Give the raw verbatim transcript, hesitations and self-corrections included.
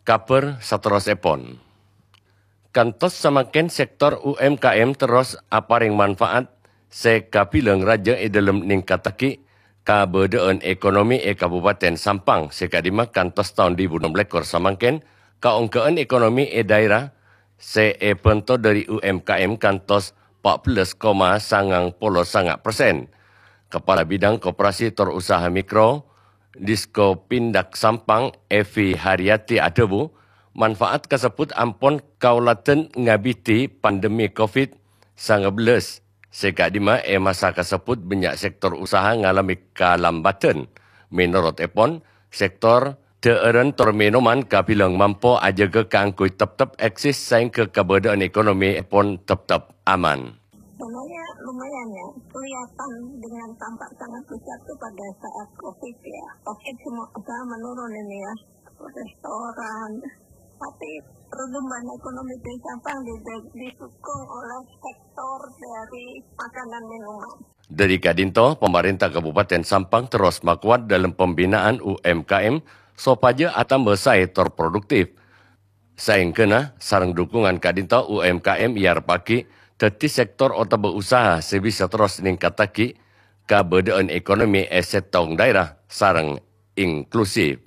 Kabhâr saterrossèpon. Kantos samangkèn sèktor U M K M terros aparèng manfaat sè kabilang rajâ è dhâlem nèngkattaghi kabâdâ'ân ekonomi è Kabupaten Sampang sè ka'dimma kantos taon duwâ èbu ennem lèkor samangkèn, kaonggâ'ân ekonomi è dhaèra sè èbhânto dhâri U M K M kantos pa' bellâs koma sangang polo sanga' persen. Kepala Bidang Koperasi Tor Usaha Mikro, Diskopindag Sampang, Evi Haryati adhâbu, manfaat kasebbhut ampon kaulâdhân ngabidhi pandemi covid sanga bellâs, sè ka'dimma è masa kasebbhut bânnya' sèktor usaha ngalamè kalambâdhân. Mènorot èpon, sèktor dhâ'ârân tor mènoman kabilang mampo ajâgâ kaangghuy teptep èksis saèngghâ kabâdâ'ân ekonomi èpon teptep aman. Dananya lumayan ya, kelihatan dengan tampak sangat besar tuh pada saat covid ya. Covid semua usaha menurun ini ya, restoran. Tapi pertumbuhan ekonomi di Sampang di- didukung oleh sektor dari makanan minuman. Dhâri ka'dinto, pamarènta Kabupaten Sampang terros makowat dhâlem pembinaan U M K M sopajâ atamba saè tor produktif. Saèngghâna sareng dhukungan ka'dinto U M K M èarebbhâghi dhâddhi sèktor otabâ usaha sè bisa terros nèngkattaghi kabâdâ'ân ekonomi è sèttong dhaèra sareng inklusif.